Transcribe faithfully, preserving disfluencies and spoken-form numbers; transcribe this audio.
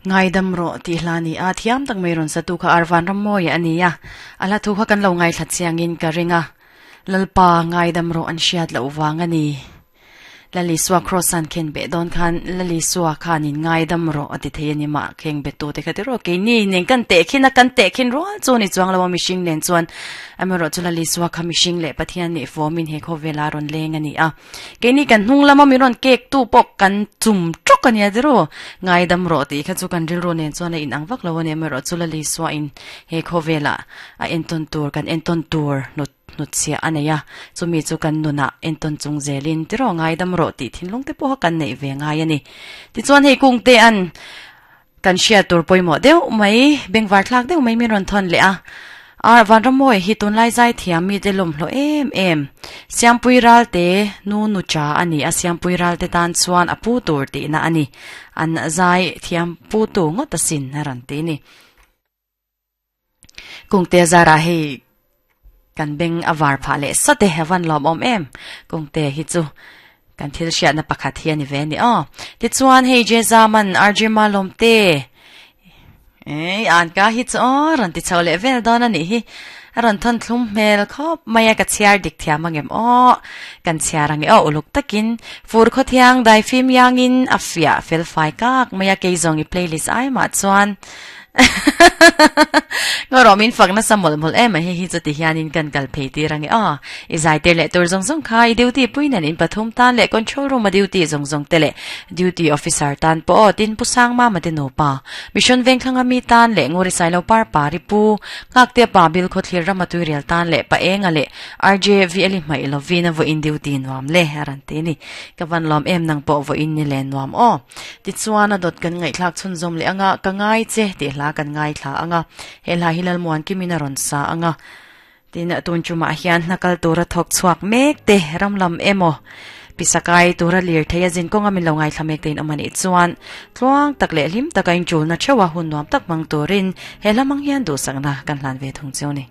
Ngai dam ro ti hlani a thiam tak mai ron satu kha arvan ram moi ania ala thu kha kan lo ngai thlat chiangin ka ringa lalpa ngai dam ro an hriat lo wang ani lali suwa cross an khen be don khan lali suwa khanin ngai dam ro ati thei ani ma kheng be tu te kha ti ro ke ni neng kan te khina kan te khin ro chu ni chuang lo mi sing nen chuan amaro chu lali suwa kha mi sing le pathian ni formin he kho vela ron leng ani a ke ni kan hnung lama mi ron kek tu pok kan chum chok ani adro ngai dam ro ti kha chu kan ril ro nen chuan in ang vak lo ani amaro chu lali suwa in he kho vela a enton tur kan enton tur no nut sia aneya chumi chu kan nuna enton chung zelin tiro ngai dam ro ti thinlung te poh kan nei ve ngai ani ti chuan hei kung te an kan shia tur poimo deuh mai bengwar thlak deuh mai mi ron thon le a ar van ramoi hi tun lai zai thiam mi te lom hlo em em siampui ral te nu nu cha ani a siampui ral te tan chuan apu tur ti na ani an zai thiam pu tu ngot sin ran te ni kung te zara hei kan beng awar pha le sate heaven lom om em kung te hi chu kan thil sia na pakhat hi ani ve ni o ti chuan hei je zaman arj malom te ei an ka hi chu ran ti chawle vel don ani hi ran thon thlum mel khop maya ka chiar dik thiam angem o kan chiarang e o uluk takin fur kho thiang dai phim yangin afia fel fai kak maya ke zong i playlist ai ma chuan ngoromin fakna samol mol em hi hi chuti hianin kan kal phei ti rangi a i zai te le tur zong zong kha i duty puinan in pathum tan le control room a duty zong zong te le duty officer tan po tin pusang ma ma te no pa mission veng thlanga mi tan le ngori sai lo par pari pu ngak te pa bil kho thlir rama tu real tan le pa enga le rj v eli mai lovina vo in duty nuam le aran te ni kawan lom em nang po vo in ni le nuam o ti chuana dot kan ngai thlak chun zom le anga ka ngai che ti hla kan ngai thla anga he la hilal muan kimina ron sa anga tin tun chuma hian nakal tura thok chuak mek te ramlam emo pisakai tura lir theya jin konga min lo ngai thlamek tein amani chuan tluang tak le lim takain chulna chewa hun nuam tak mang turin he lamang hian du sangna kan hlan ve thung chu ni.